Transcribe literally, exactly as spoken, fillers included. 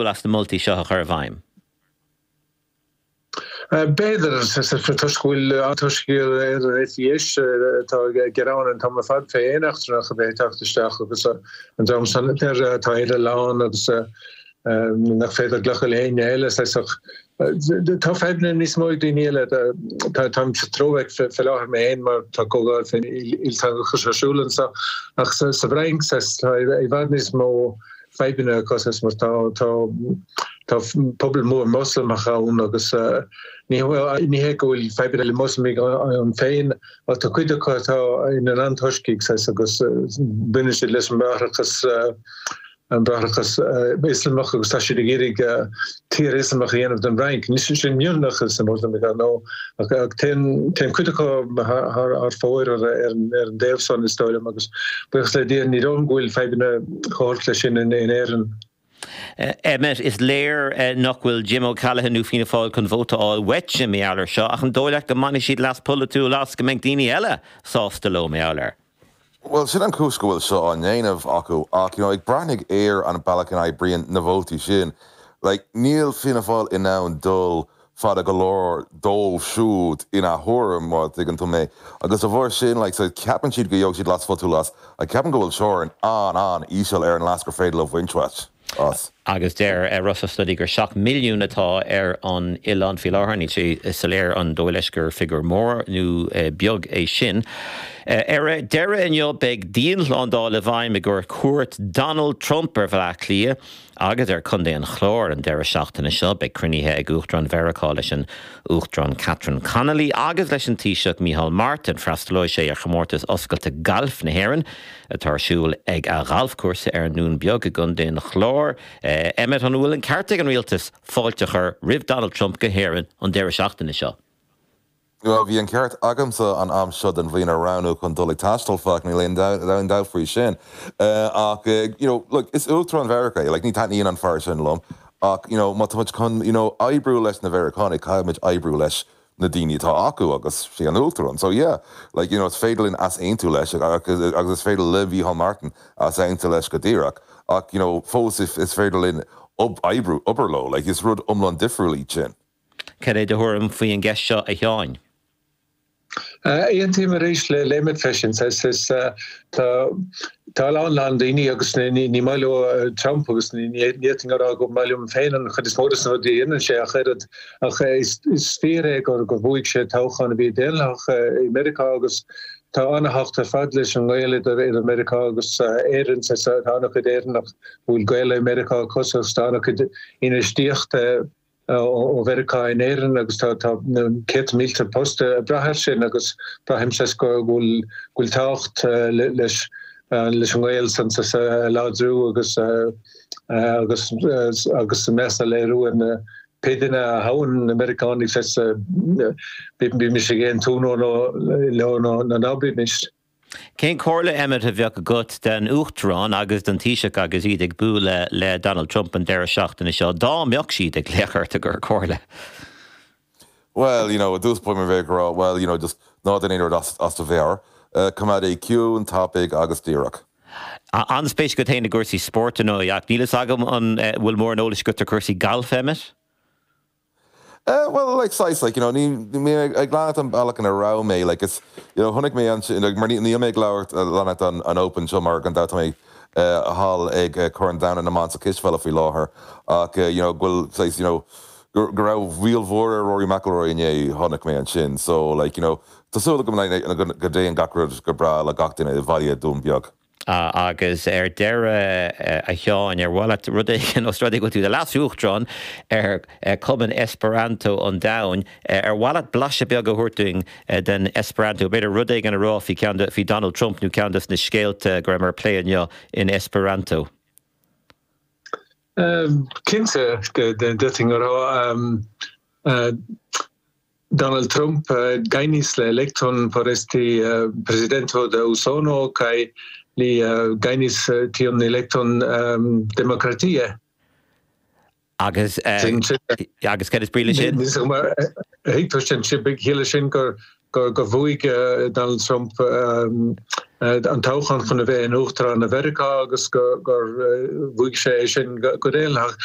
as na moltaí seo a chur i bhfeidhm. B'fhéidir toisc go bhfuil toisc ar an eite tá gearán an t-am ar fad fé aon eachtrannach a bheith ag teacht isteach agus an dream san tá Éire lán agus nach féidir glacadh le éinne eile tá fadhbanna níos mó ag daoine eile táim sa tSlóvaic fé láthair mé féin mar tá comhdháil faoin ilteangachas ar siúl anseo ach sa bhFrainc tá i bhfad níos mó fadhbanna acu mar tá tá tá pobal mór Moslamach ann agus ní ní hé go bhfuil fadhbanna le Moslamaigh ann féin ach tá cuid acu atá ina n-antoiscigh agus baineann siad leis an mBráithreachas an Bráithreachas Ioslamach agus tá siad ag iarraidh tír Ioslamach a dhéanamh den Fhrainc. Ní sin mionlach is na Moslamaigh nó ach téann cuid acu thar fóir ar an dtaobh san is dóigh liom agus buíochas le Dia ní dóigh liom go bhfuil fadhbanna chomh holc leis sin in Éirinn. Emmet is léir nach bhfuil Jim O'Callaghan nó Fianna Fáil chun vóta a fháil uait mar gheall air seo ach an dóigh leat go mbainfidh siad leas polaitiúil as go mbeidh daoine eile sásta leo mar gheall air. Well sin an chúis go bhfuil seo á ndéanamh acu ach you know, ag breathnú ar an bealach in oibríonn na vótaí sin. Like, níl Fianna Fáil in ann dul fada go leor dóibh siúd ina thuairim má thuigeann tú mé. Agus a bharr sin like, so ceapann siad go gheobhaidh siad leas pholaitiúil as a ceapann go bhfuil teorainn an an-íseal ar an leas gur féidir leo bhaint as. Agus deir Russell Study gur seacht milliún atá ar an oileán faoi láthair níl sé soiléir an dóigh leis gur figiúr mór nó beag é sin. Ar deireadh inniu beidh dianshlándáil i bhfeidhm i gcomhair cuairt Donald Trump ar Bhaile Átha Cliath agus ar Chontae an Chláir an deireadh seachtaine seo beidh cruinnithe ag Uachtarán Mheiriceá leis an Uachtarán Catherine Connolly agus leis an Taoiseach Micheál Martin freastalóidh sé ar chomórtas oscailte gailf na hÉireann atá ar siúl ag a ghalfchúrsa ar an nDún Beag i gContae an Chláir. Emmet an bhfuil an ceart ag an rialtas fáilte a chur roimh Donald Trump go hÉirinn an deireadh seachtaine seo. Well, bhí an ceart agamsa an am seo den bhliain a roghnú chun dul ag taisteal fach ní aon dabht faoi sin. Uh, ach uh, you know, look, is Uachtarán Mheiriceá like, ní taitníonn an fear sin liom ach you know, má tá chun you know, oibriú leis na Meiriceánaigh caithfimid oibriú leis na daoine atá acu agus sé an Uachtarán. So yeah, like, you know, is féidir linn easaontú leis agus agus is féidir le Micheál Martin easaontú leis go díreach ach you know, fós is, is féidir linn oibriú obair leo, like, is rud iomlán difriúil sin. Cad é do thuairim faoi an gceist seo a Sheáin. Aontaím arís le Emmet freisin tá tá lán lán daoine agus ní maith leo Trump agus ní rá go maith liom féin an chuid is mó de na rudaí a dhéanann sé ach oiread ach is fíor é gur gur bhuaigh sé toghchán a bhí daonlathach i Meiriceá agus tá an-tábhacht ar fad leis an ngaol idir idir Meiriceá agus Éirinn tá an-chuid Éireannach bhfuil gaol i Meiriceá acu tá an-chuid infheistíochta ó Mheiriceá in Éirinn agus tá céad mílte post ag brath air sin agus braithim sé go bhfuil bhfuil tábhacht leis leis an ngaol san a láidriú agus agus agus meas a léiriú ar na pé duine a thoghann na Meiriceánaigh bímis ag aontú leo nó ná bímis. Cén chomhairle Emmet a bheadh agat den Uachtarán agus den Taoiseach agus iad ag bualadh le Donald Trump an deireadh seachtaine seo dá mbeadh siad ag glaoch ort i gcomhair comhairle. Well, you know, dús po bheith rá, well, you know, just ná déan aon rud as, as do mheabhair. Uh, Coimeád é ciúin tapaidh agus díreach. An-spéis agat féin i gcúrsaí spóirt nó ach níl a fhios agam an bhfuil mórán eolais agat ar chúrsaí gailf Emmet? Uh, well like size like you know ní mé ag leanacht an bealach ina raibh mé like it's you know chonaic mé an like, mar ní mé ag labhairt leanacht an an open seo mar gan dabht mé uh, thall ag uh, Corn Domhanda na mBan sa cispheil faoi láthair ach uh, you know bhfuil saghas you know go raibh mhíl mhór ar Rory McIlroy inné chonaic mé ansin so like you know Tá súil agam go dtéann gach rud go breá le gach duine i bhaile Dún Beag. Uh, agus ar deireadh uh, a Sheáin ar mhaith leat rud éigin os rud é go bhfuil tú i do leas-uachtarán ar uh, Cumann Esperanto an Domhain ar mhaith leat blaiseadh beag a thabhairt dúinn den Esperanto b'fhéidir rud éigin a rá faoi ceann faoi Donald Trump nó ceann de na scéalta go raibh plé inniu in Esperanto. Um, Cinnte d'fhéadfainn a rá um, uh, Donald Trump uh, gajnis la elekton por esti uh, prezidento de Usono kaj li uh, gajnis uh, tiun elekton um, demokratie. Agus agus cad is brí sin? Thuig sin chiallaigh sin gur gur gur bhuaigh Donald Trump um, an toghchán chun a bheith in uachtarán na Mheiriceá agus gur bhuaigh sé sin go daonlathach.